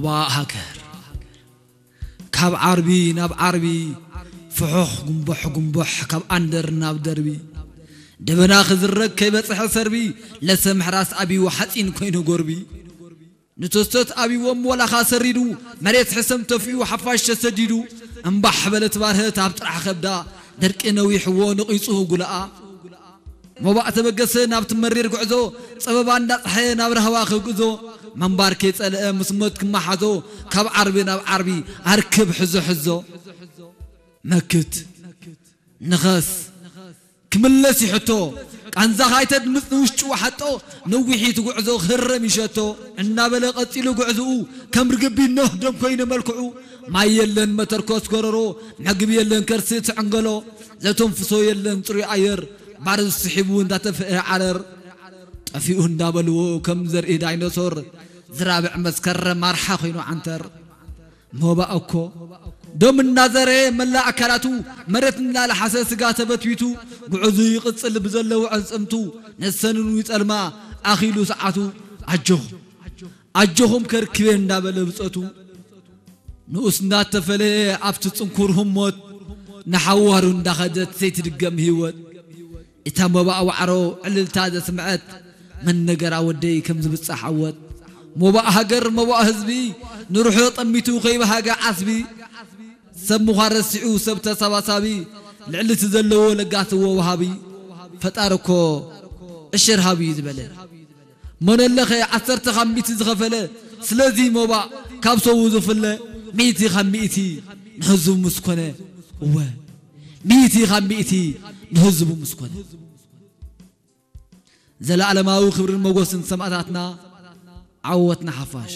ሞባእ ሃገር ካብ ዓርቢ ናብ ዓርቢ ፍሑኽ ጉንቦሕ ጉንቦሕ ካብ ኣንደር ናብ ደርቢ ደበና ክዝረግ ከይበጽሐ ሰርቢ ለሰ ምሕራስ ኣብዩ ሓጺን ኮይኑ ጎርቢ ንቶስተት ኣብዎም ወላኻ ሰሪዱ መሬት ሕሰም ተፊኡ ሓፋሽ ተሰዲዱ እምባሕ በለት ባርህት ኣብ ጥራሕ ከብዳ ደርቂ ነዊሕዎ ነቒጹ ጉልኣ ሞባእ ተበገሰ ናብቲ መሪር ጉዕዞ ጸበባ እንዳጸሓየ ናብ ራህዋ ክግዞ መንባር ከይጸልአ ምስ ሞት ክመሓዞ ካብ ዓርቢ ናብ ዓርቢ ኣርክብ ሕዞ ሕዞ መክት ንኸስ ክምለስ ይሕቶ ቃንዛ ካይተድምፅ ንውሽጡ ሓጦ ነዊሒት ጉዕዞ ክህረም ይሸቶ እናበለ ቀፂሉ ጉዕዝኡ ከም ርግቢ ኖህ ደም ኮይኑ መልክዑ ማይ የለን መተርኮስ ጎረሮ መግቢ የለን ከርሲ ትዕንገሎ ዘተንፍሶ የለን ፅሩይ ኣየር ባርዝ ስሒቡ እንዳተፍአ ዓረር ጠፊኡ እንዳበልዎ ከም ዘርኢ ዳይኖሶር ዝራብዕ መስከረም ኣርሓ ኮይኑ ዓንተር ሞባእ እኮ ደም እናዘረ መላእ ኣካላቱ መሬት እናለሓሰ ስጋ ተበትቢቱ ጉዕዙ ይቕጽል ብዘለዎ ዕጽምቱ ነሰንኑ ይጸልማ ኣኺሉ ሰዓቱ ኣጆኹም ኣጆኹም ከርክቤ እንዳበለ ብጸቱ ንኡስ እንዳተፈለየ ኣብቲ ጽንኩር ህሞት ንሓዋሩ እንዳኸደት ዘይትድገም ህይወት እታ ሞባእ ዋዕሮ ዕልልታ ዘስምዐት መን ነገራ ወደይ ከም ዝብጻሕ ዓወት ሞባእ ሃገር ሞባእ ህዝቢ ንርሑ ጠሚቱ ከይበሃገ ዓስቢ ሰብ ምዃን ረሲዑ ሰብ ተሰባሳቢ ልዕሊ እቲ ዘለዎ ለጋስዎ ወሃቢ ፈጣሪ እኮ እሽር ሃቢ እዩ ዝበለ መነለኸ ዓሰርተ ካብ ሚእቲ ዝኸፈለ ስለዚ ሞባእ ካብ ሰቡ ዝፍለ ሚእቲ ካብ ሚእቲ ንህዝቡ ምስ ኮነ እወ ሚእቲ ካብ ሚእቲ ንህዝቡ ምስ ኮነ ዘለኣለማዊ ክብርን መጎስን ሰማእታትና ዓወት ንሓፋሽ